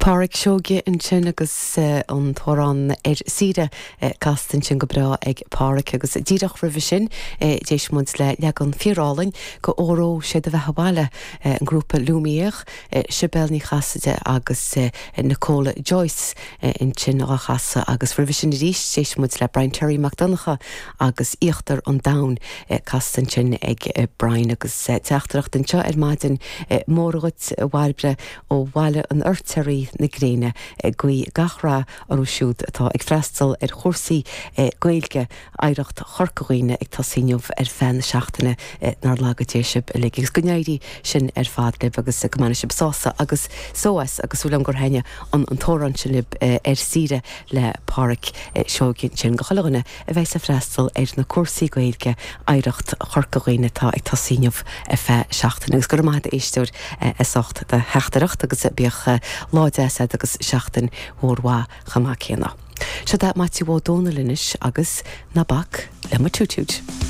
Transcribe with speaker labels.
Speaker 1: Pádraic Seoige ansin agus an t-amhrán Ar Saoire casta ansin go breá ag Pádraic agus díreach roimhe sin d'éist muid le leagan fíorálainn de Óró Sé do Bheatha 'Bhaile, an grúpa Lumière, Sibéal Ní Chasaide agus Nicola Joyce ansin á chasadh agus roimhe sin arís d'éist muid le Brian Terry Mac Donncha agus Íochtar an Domhain casta ansin ag Brian agus teachtaireacht anseo ar maidin Móra dhuit a Bhairbre ó Bhaile an Fheirtéaraigh na gréine ag guí gach rath orthu siúd atá ag freastal ar chúrsaí Gaeilge Oidhreacht Chorca Dhuibhne ag tosaí inniu ar feadh na seachtaine nár laga Dé sibh uilig agus go n-éirí sin ar fad libh agus go mbaine sibh sásamh agus só as agus súil agam gur thaitnigh an t-amhrán sin libh Ar Saoire le Pádraic Seoige ansin go chuile dhuine a bheas ag freastal ar na cúrsaí Gaeilge Oidhreacht Chorca Dhuibhne atá ag tosaí inniu ar feadh seachtaine. Agus go raibh maith agat a éisteoir as ucht do theachtaireacht agus bíodh lá deas agat agus seachtain mhór mhaith chomh maith céanna. Seo é Maitiú Ó Dónaill anois agus Ná Bac le mo Toot Toot.